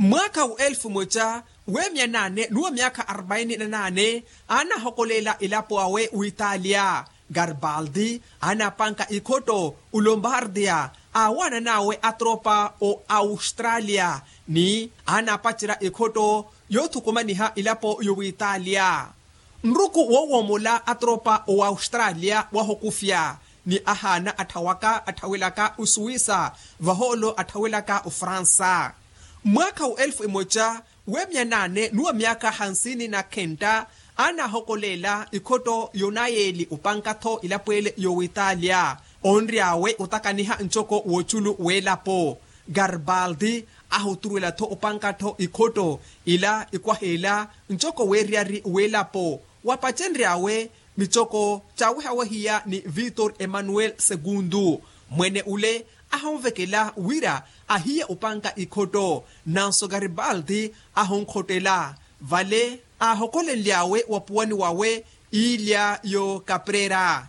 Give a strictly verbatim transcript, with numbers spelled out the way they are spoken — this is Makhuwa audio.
Mwaakha wa elfu moca weemiya naane ni wa myaakha arbaini na naane, aanahokoleela elapo awe witalia. Garibaldi aanapanka ikhotto olombardia, aawaanan'awe atropa o australia, ni aanapacerya ikhotto yoothukumaniha elapo yowitalia. Nruku woowoomola atropa o australia wahokufya, ni ahaana atthawaka atthawelaka osuwisa, vahoolo atthawelaka ofransa. Mwaakha wa elfu emoca weemiya naane ni wa myaakha hansini na khentta, aanahokoleela ikhotto yonayeeli opanka-tho elapo ele yowitalia. Onry'awe otakaniha ncoko w'oculu w'elapo. Garibaldi ahuturuwela-tho opanka-tho ikhotto ila ikwaha ela ncoko weeriyari w'elapo, wapacenry'awe micoko caawehawehiya ni victor emmanuel segundu. Mwene ule ahonvekela wira ahiye opanka ikhotto, nanso garibaldi ahonkhottela. Vale aahokolenly'awe wapuwani wawe iilya yo kaprera.